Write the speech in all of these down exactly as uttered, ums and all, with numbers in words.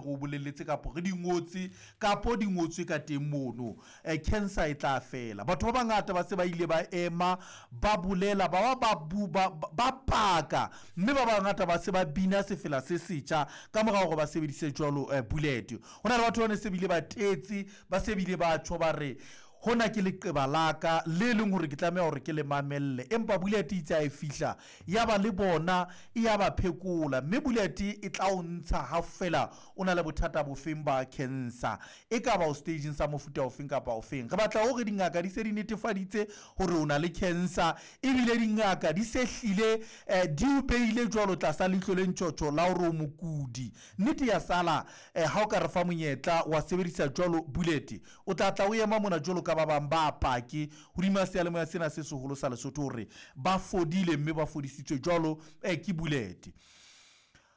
Re o bolelletse kapo re di ngotse kapo di ngotswe ka teng mono, um cancer e tla fela. Batho ba bangata ba se ba ile ba ema ba bolela, ba ba ba ba paka, mme ba bangata ba se ba bina sefela se setjha ka mora hore ba sebedise jwalo bullet. Ho na le batho ba ne se bile ba tetse, ba se bile ba tjho ba re hona ke leqeba la ka le leng hore ke tlameha hore ke le mamelle. Empa bullet itse ha e fihla ya ba le bona e ya ba phekola, mme bullet e tla o ntsha ha fela o na le bothata bofeng ba cancer, e ka ba o stageng sa mofuta ofeng kapa ofeng. Re batla hore dingaka di se di netefaditse hore o na le cancer, ebile dingaka di se hlile um di o behile jwalo tlasa leihlo le ntjhotjho la hore o mokudi. Nnete ya sala um ha o ka re fa monyetla wa sebedisa jwalo bullet, o tla tla o ema mona jwalo ka ba bang ba pake hodima seyalemoya sena se seholo sa Lesotho hore ba fodile mme ba fodisitswe jwalo um ke bullet.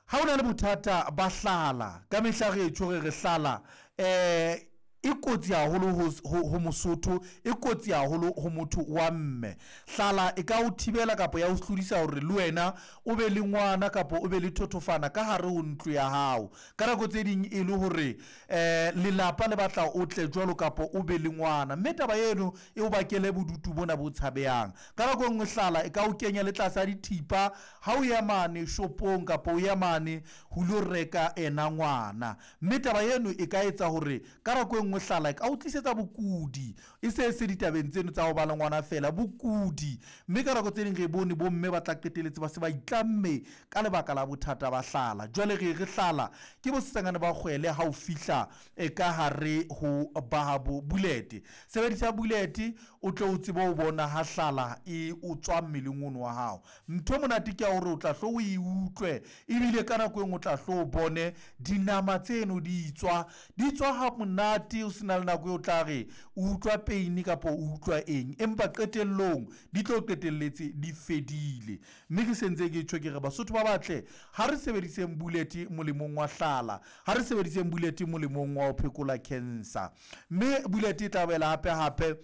Ha o na le bothata ba hlala, ka mehla re tjho re re hlala um e kotsi haholo ho, ho Mosotho, e kotsi haholo ho motho wa mme. Hlala e ka o thibela kapa ya o hlodisa hore le wena o be le ngwana kapa o be le thothofana ka hare ho ntlo ya hao. Ka nako tse ding e le hore um lelapa le batla o tle jwalo kapa o be le ngwana, mme taba eno e o bakele bodutu bona bo tshabehang. Ka nako e nngwe hlala e ka o kenya le tlasa dithipa ha o ya mane shopong kapa o ya mane ho lo reka ena ngwana, mme taba eno e ka etsa hore ka nako e nngwe hlala e ka o tlisetsa bokudi, e se se ditabeng tseno tsa ho ba le ngwana fela, bokudi. Mme ka nako tse ding re bone bomme ba tla qetelletse ba se ba itlamme ka lebaka la bothata ba hlala. Jwale re re hlala ke bosesangane ba kgwele ha o fihla e ka hare ho ba bo bullet. Sebedisa bullet o tle o tsebe ho bona ha hlala e o tswa mmeleng ono wa hao. Ntho e monate ke ya hore o tla hlo o e utlwe, ebile ka nako e nngwe o tla hlo o bone dinama tseno di tswa, di tswa ha monate, o sena le nako eo tla re o utlwa pain kapa o utlwa eng, empa qetellong di tlo qetelletse di fedile. Mme ke sentse ke tjho ke re Basotho ba batle, ha re sebediseng bullet molemong wa hlala, ha re sebediseng bullet molemong wa ho phekola cancer. Mme bullet e tla boela hape hape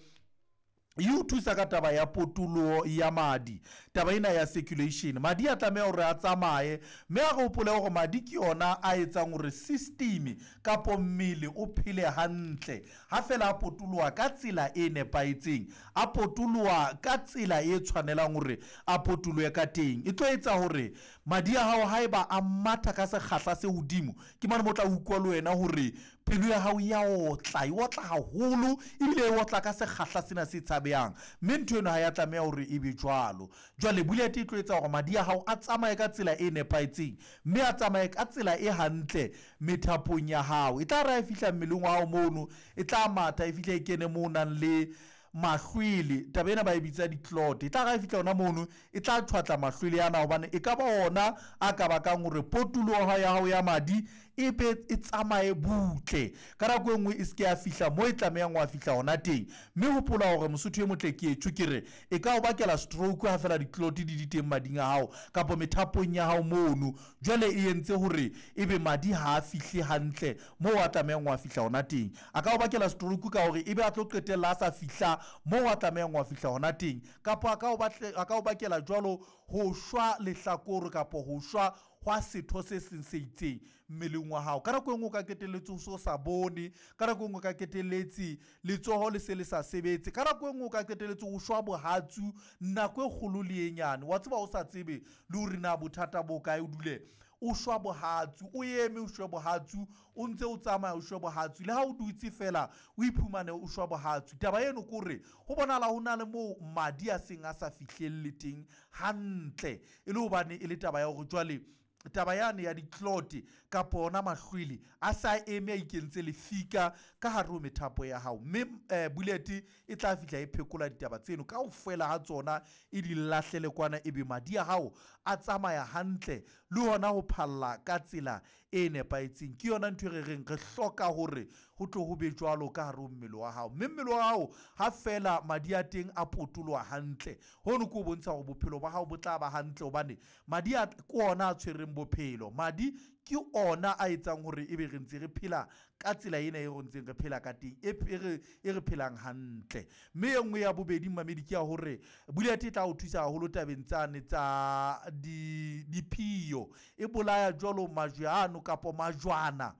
e o thusa ka taba ya potoloho ya madi, taba ena ya circulation. Madi a tlameha hore a tsamaye, mme a re hopole hore madi ke yona a etsang hore system kapo mmele o phele hantle. Ha fela a potoloha ka tsela e nepahetseng, a potoloha ka tsela e tshwanelang hore a potolohe ka teng, e tlo etsa hore madi a hao haeba a matha ka sekgahla se hodimo, ke mane mo tla utlwa le wena hore pelo ya hao ya otla, e otla haholo, ebile e otla ka sekgahla sena se tshabehang. Mme ntho eno ha ya tlameha hore e be jwalo. Jwale bullet e tlo etsa hore madi a hao a tsamaye ka tsela e nepahetseng, mme a tsamaye ka tsela e hantle methapong ya hao. E tla re ha e fihla mmeleng wa hao mono, e tla matha e fihle e kene moo o nang le mahlwele, taba ena ba e bitsa di-clot. E tla re ha e fihla hona mono, e tla tjhwatla mahlwele ana, hobane e ka ba ona a ka bakang hore potoloho ya hao ya madi e be e tsamaye butle. Ka nako e nngwe e se ke ya fihla moo e tlamehang wa fihla hona teng. Mme hopola hore Mosotho e motle ke etjho ke re e ka o bakela stroke ha fela di-clot di di teng mading a hao kapa methapong ya hao mono. Jwale e entse hore ebe madi ha a fihle hantle moo a tlamehang wa fihla hona teng. A ka o bakela stroke ka hore ebe a tlo qetella a sa fihla moo a tlamehang wa fihla hona teng, kapa a ka o batle, a ka o bakela jwalo ho shwa lehlakore kapa ho shwa hwa setho se seng se itseng mmeleng wa hao. Ka nako e nngwe o ka qetelletse o so sa bone, ka nako e nngwe o ka qetelletse letsoho le se le sa sebetse, ka nako e nngwe o ka qetelletse o shwa bohatsu nako e kgolo le e nyane. Wa tseba o sa tsebe le hore na bothata bo kae, o dule o shwa bohatsu, o eme o shwe bohatsu, o ntse o tsamaya o shwe bohatsu, le ha o dutse fela o iphumane o shwa bohatsu. Taba eno ke hore ho bonahala ho na le moo madi a seng a sa fihlelle teng hantle, e le hobane e le taba ya hore jwale taba yane ya di-clot kapa ona mahlwele a sa eme a ikentse lefika ka hare ho methapo ya hao. Mme um bullet e tla fihla e phekola ditaba tseno kaofela ha tsona, e di lahlele kwana, ebe madi a hao a tsamaya hantle le hona ho phalla ka tsela e nepahetseng. Ke yona ntho e re reng re hloka hore ho tlo ho be jwalo ka hare ho mmele wa hao. Mme mmele wa hao ha fela madi a teng a potoloha hantle, hono ke ho bontsha hore bophelo ba hao bo tla ba hantle, hobane madi a ke ona a tshwereng bophelo. Madi ke ona a etsang hore ebe re ntse re phela ka tsela ena e re ntseng re phela ka teng, e re e re phelang hantle. Mme e nngwe ya bobedi mmamedi ke ya hore bullet e tla o thusa haholo tabeng tsane tsa di diphio, e bolaya jwalo majwe ano kapa majwana